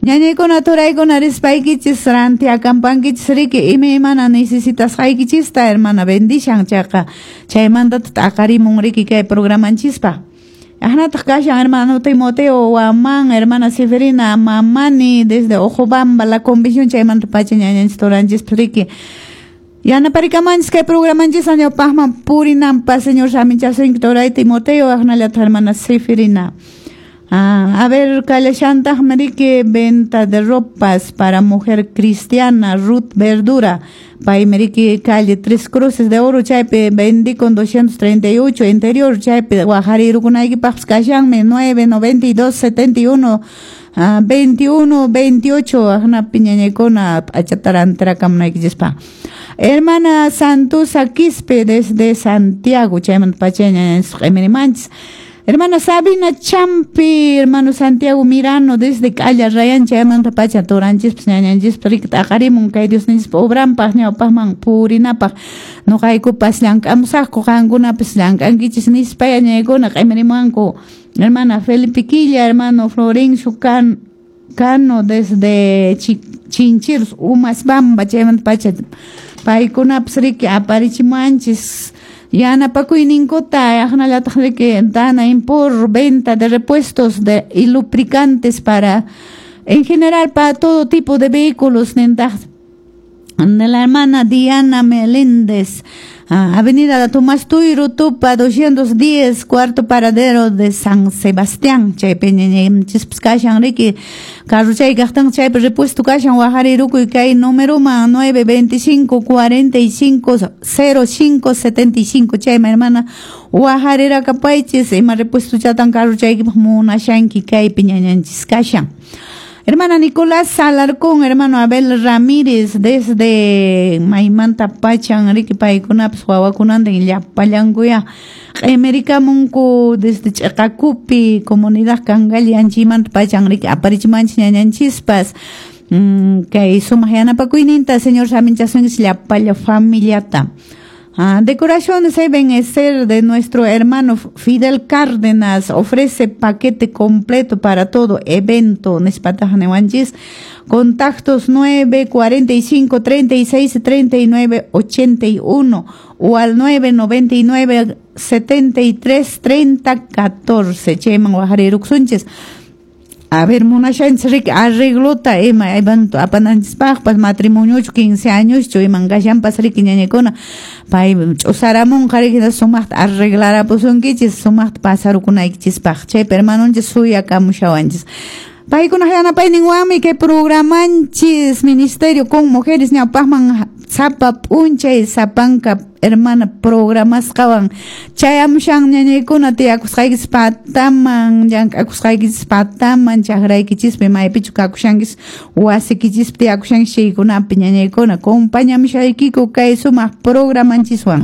Ñañaykuna turaykuna rispaykichis rantiakampankichis riki imaymana necesitasqaykichista hermana bendishan chayqa chaymanta t'aqarimun riki kay programanchispa. Ahnataq kashan hermano Timoteo Guamán, hermana Seferina Mamani desde Ojobamba, la convención chaymanta pacha ñañanchis turanchis riki. Yanaparikamanchis kay programanchis ñawpaqman purinanpa señor saminchasunki turay Timoteo ahnallataq hermana Seferina. Ah, a ver, kallashantaqmi riki venta de ropas para mujer cristiana Ruth Verdura. Paymi riki calle Tres Cruces de Oro chaypi vendí con 238 interior chaypi waqarirukunaykipaqpas kashanmi 992 71 21 28 aqnapi ñañaykuna p'achata rantirakamunaykichispa. Hermana Santusa Quispe desde Santiago chaymanta pacha ñañanchis q'imirimanchis. Hermana Sabina Champi, hermano Santiago Mirano desde Calla Rayan chaymanta pacha turanchispas ñañanchispas riki t'aqarimun kay Diosninchispa obranpaq ñawpaqman purinapaq nuqaykupas llank'amusaqku qankunapas llank'ankichis nispa ñañaykuna q'imirimunku. Hermana Felipe Quilla, hermano Florencio Cano desde Chinchiros, Umasbamba chaymanta pacha paykunapas riki aparichimuanchis yanapakuyninkuta aqnallataq riki dana impor venta de repuestos de y lubricantes para en general para todo tipo de vehículos nintaq de la hermana Diana Meléndez, Avenida Tomás Tuiro, Tupa 210, cuarto paradero de San Sebastián. Chaypi ñañanchispas kashan riki carro chay kaqtan chaypi repuesto kashan waqarirukuy kay numeroman 925 45 05 75 chayman hermana waqarirakapaychis ima repuesto chatan carrochaykipaq munashanki kaypi ñañanchis kashan. Hermana Nicolás Alarcón, hermano Abel Ramírez, desde Maymanta Pachan, riki paykunapas wawakunantin llapallankuya q'imirikamunku desde Ch'aqakupi, comunidad Cangalli anchaymanta pachan riki aparichimanchis ñañanchispas. Kay sumaq yanapakuyninta señor saminchasunchis llapalla familiata. Decoraciones deben ser de nuestro hermano Fidel Cárdenas. Ofrece paquete completo para todo evento. Nispataq niwanchis. Contactos 9 45 36 39 81 o al 9 99 73 30 14. Chayman waqarirukusunchis. A ver, munashanchis riki arreglota ima evento apananchispaqpas matrimoniochu 15 añoschu iman kashanpas riki ñañaykuna pay ch'usaramunqa riki sumaqta arreglarapusunkichis sumaqta pasarukunaykichispaq chaypi hermanonchis suyakamushawanchis. Paykunaq yanapayninwanmi kay programanchis Ministerio con Mujeres ñawpaqman sapa p'unchay sapanka hermana programasqawan chayamushan ñañaykuna tiyakusqaykichis pataman llank'akusqaykichis pataman chakraykichispi maypichu kakushankis wasikichispi tiyakushankis chaykunapi ñañaykuna compañamushaykiku kay sumaq programanchiswan.